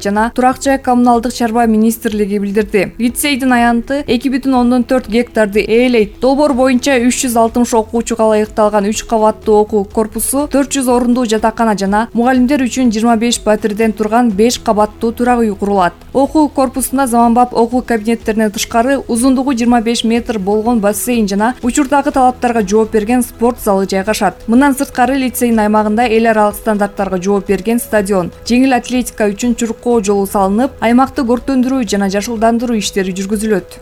жана турак жай коммуналдык чарба министрлиги билдирди. Лицейдин аянты 2,4 гектарды ээлейт. Долбоор боюнча 360 окуучуга ылайыкталган 3 кабаттуу окуу корпусу, 400 орундуу жатакана жана мугалимдер үчүн 25 батирден турган 5 кабаттуу турак үй курулат. Окуу корпусунда заманбап окуу кабинеттеринен тышкары узундугу 25 метр болгон бассейн жана учурдагы талаптарга жооп берген спорт залы жайгашат. Мындан сырткары лицейдин аймагында эл аралык стандарттарга жооп берген стадион, жеңил атлетика үчүн чуркоо жолу салынып, аймакты көркөндүрүү жана жашылдандыруу иштери жүргүзүлөт.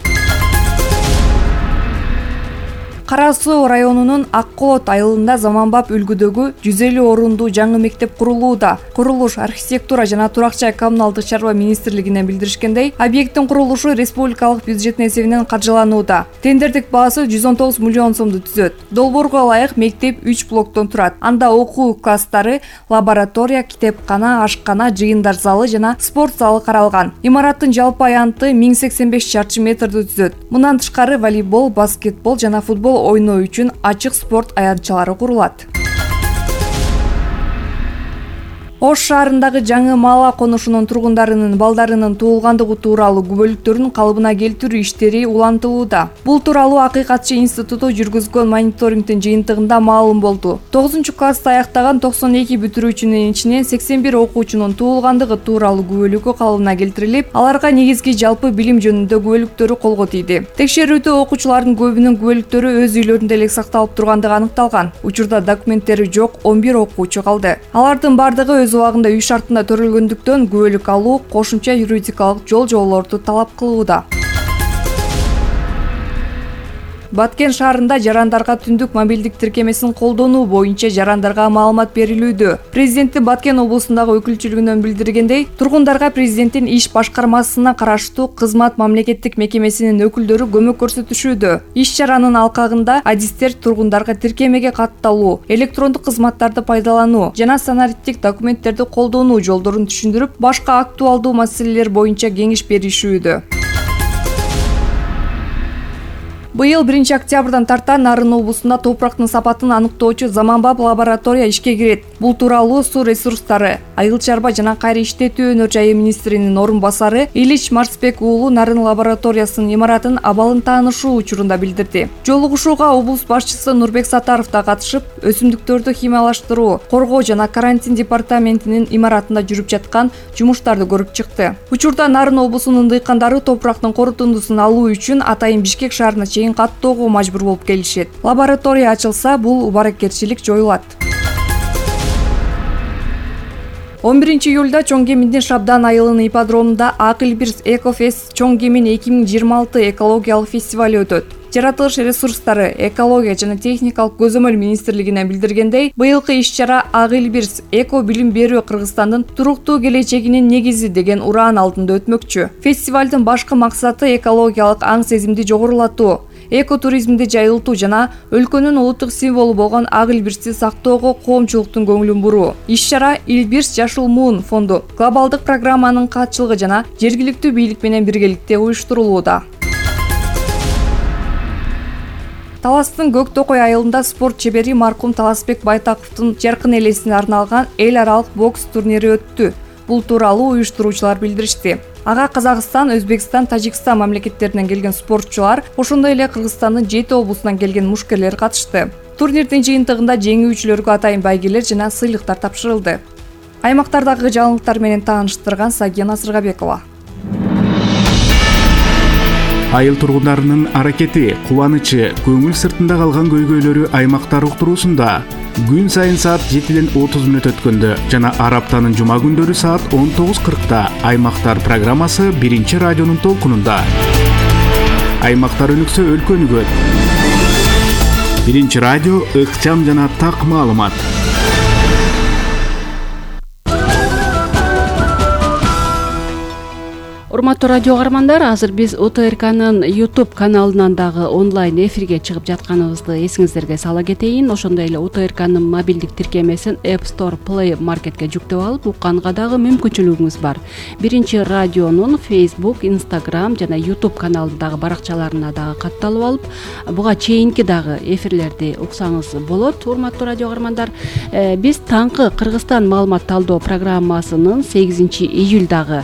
Кара Суу районунун Ак Колот айылында заманбап үлгүдөгү 150 орундуу жаңы мектеп курулууда. Курулуш архитектура жана турак жай коммуналдык чарба министрлигинен билдиришкендей, объекттин курулушу республикалык бюджеттин эсебинен каржыланууда. Тендердик баасы 119 миллион сомду түзөт. Долбоорго ылайык мектеп 3 блоктон турат. Анда окуу класстары, лаборатория, китепкана, ашкана, жыйындар залы жана спорт залы каралган. Имараттын жалпы аянты 1085 чарчы метрди түзөт. Мындан тышкары волейбол, баскетбол жана футбол ойноо үчүн ачык спорт аянтчалары курулат. Ош шаарындагы жаңы Мала конушунун тургундарынын балдарынын туулгандыгы тууралуу күбөлүктөрүн калыбына келтирүү иштери улантылууда. Бул тууралуу Акыйкатчы институту жүргүзгөн мониторингдин жыйынтыгында маалым болду. 9-классты аяктаган 92 бүтүрүүчүнүн ичинен 81 окуучунун туулгандыгы тууралуу күбөлүккө калыбына келтирилип, аларга негизги жалпы билим жөнүндө күбөлүктөрү колго тийди. Текшерүүдө окуучулардын көбүнүн күбөлүктөрү өз үйлөрүндө эле сакталып тургандыгы аныкталган. Учурда документтери жок 11 окуучу калды. Алардын бардыгы өз убагында үй шартында төрөлгөндүктөн күбөлүк алуу кошумча юридикалык жол-жоболорду талап кылууда. Баткен шаарында жарандарга түндүк мобилдик тиркемесин колдонуу боюнча жарандарга маалымат берилүүдө. Президенти Баткен облусундагы өкүлчүлүгүнөн билдиргендей, тургундарга президенттин иш башкармасына караштуу кызмат мамлекеттик мекемесинин өкүлдөрү көмөк көрсөтүшүүдө. Иш чаранын алкагында адистер тургундарга тиркемеге катталуу, электрондук кызматтарды пайдалануу жана санариптик документтерди колдонуу жолдорун түшүндүрүп, башка актуалдуу маселелер боюнча кеңеш беришүүдө. Быйыл 1 октябрдан тарта Нарын облусунда топурактын сапатын аныктоочу заманбап лаборатория ишке кирет. Бул тууралуу Суу ресурстары, айыл чарба жана кайра иштетүү өнөр жайы министринин орун басары Илич Марсбек уулу Нарын лабораториясынын имаратын абалын таанышуу учурунда билдирди. Жолугушууга облус башчысы Нурбек Сатаров да катышып, өсүмдүктөрдү химиялаштыруу, коргоо жана карантин департаментинин имаратында жүрүп жаткан жумуштарды көрүп чыкты. Учурда Нарын облусунун дыйкандары топурактын корутундусун алуу үчүн атайын Бишкек шаарына чейин каттоого мажбур болуп келишет. Лаборатория ачылса, бул убаракерчилик жоюлат. 11 июлда Чоң Кеминдин Шабдан айылынын ипподромунда Акылбирс Экофест Чоң Кемин 2026 экологиялык фестиваль өтөт. Жаратылыш ресурстары, экология жана техникалык көзөмөл министрлигинен билдиргендей, быйылкы иш-чара Акылбирс Эко билим берүү Кыргызстандын туруктуу келечегинин негизи деген ураан алдында өтмөкчү. Фестивалдын башкы максаты экологиялык аң сезимди жогорулатуу, экотуризмди жайылтуу жана өлкөнүн улуттук символу болгон Акылбирсти сактоого коомчулуктун көңүлүн буруу. Иш-чара Илбирс Жашыл Муун фонду глобалдык программанын катчылыгы жана жергиликтүү бийлик менен биргеликте уюштурулууда. Таластын Көк Токой айылында спорт чебери маркум Таласбек Байтаковдун жаркын элесине арналган эл аралык бокс турнири өттү. Бул тууралуу уюштуруучулар билдиришти. Ага Казакстан, Өзбекстан, Тажикстан мамлекеттеринен келген спортчулар, ошондой эле Кыргызстандын 7 облусунан келген мушкерлер катышты. Турнирдин жыйынтыгында жеңүүчүлөргө атайын байгелер жана сыйлыктар тапшырылды. Аймактардагы жаңылыктар менен тааныштырган Сагина Сыргабекова. Айыл тургундарынын аракети, кубанычы, көңүл сыртында калган көйгөйлөрү аймактар уктуруусунда күн сайын саат 7ден 30 мүнөт өткөндө жана ар аптанын жума күндөрү саат 19:40 Аймактар программасы 1 радионун толкунунда. Аймактар өнүксө өлкө өнүгөт. 1 радио ыкчам жана так маалымат. Урматтуу радио каармандар, азыр биз УТРКнын YouTube каналынан дагы онлайн эфирге чыгып жатканыбызды эсиңиздерге сала кетейин. Ошондой эле УТРКнын мобилдик тиркемесин App Store, Play Marketке жүктөп алып укканга дагы мүмкүнчүлүгүңүз бар. Биринчи радионун Facebook, Instagram жана YouTube каналындагы баракчаларына дагы катталып алып, буга чейинки дагы эфирлерди уксаңыз болот. Урматтуу радио каармандар, биз таңкы Кыргызстан маалымат талдоо программасынын 8-июлдагы